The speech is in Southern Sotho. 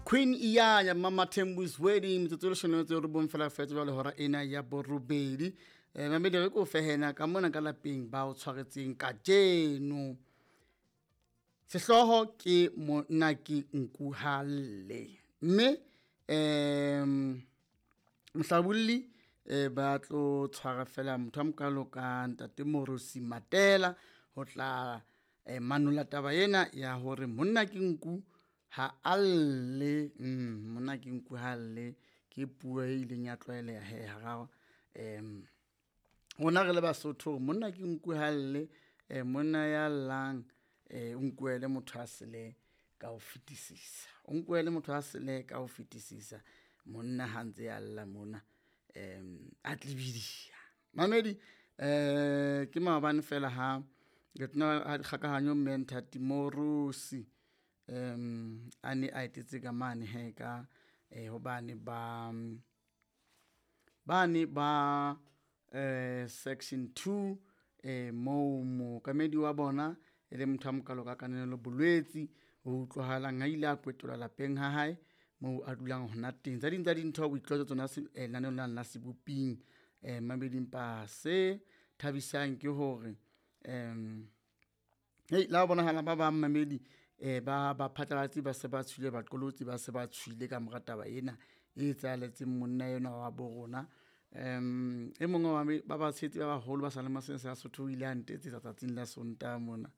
Queen Iyanya Mama Thembu's Wedding, metsotso e leshome le metso e robong fela fetse jwale hora ena ya borobedi. Mamedi re ko fehena ka mona ka lapeng ba o tshwaretseng kajeno. Sehlooho ke monna ke nku ha lle, mme mohlabolli ba tlo tshwara fela motho a mokalo ka ntate Morosi Matela ho tla manolla taba ena ya hore monna ke nku ha a lle. Monna ke nku ha lle ke puo e ileng ya tlwaeleha he hara rona re le Basotho, monna ke nku ha lle. Monna ya llang o nkuwa e le motho a sele ka ho fetisisa, o nkuwa e le motho a sele ka ho fetisisa monna ha ntse a lla mona a tlebidiya. Mamedi ke maobane fela ha letona la dikgakahanyo mme Nthati Moorosi a ne a etetse ka mane he ka hobane ba bane ba section 2 moo mookamedi wa bona e le motho a mokalo ka Kananelo Bolwetsi ho utlwahalang a ile a kwetolwa lapeng ha hae moo a dulang hona teng. Tse ding tsa dintho o itlwaetse tsona lenaneong lena la Seboping. Mamedi empa se thabisang ke hore hei la ho bonahala ba bang mamedi ba baphatlalatsi ba se ba tswile, baqolotsi ba se ba tswile ka mora taba ena e etsahaletseng monna enwa wa bo rona. E mong wa ba batshehetsi ba baholo ba sa le sa Sotho o ile a ntetsetsa tsatsing la Sontaha mona.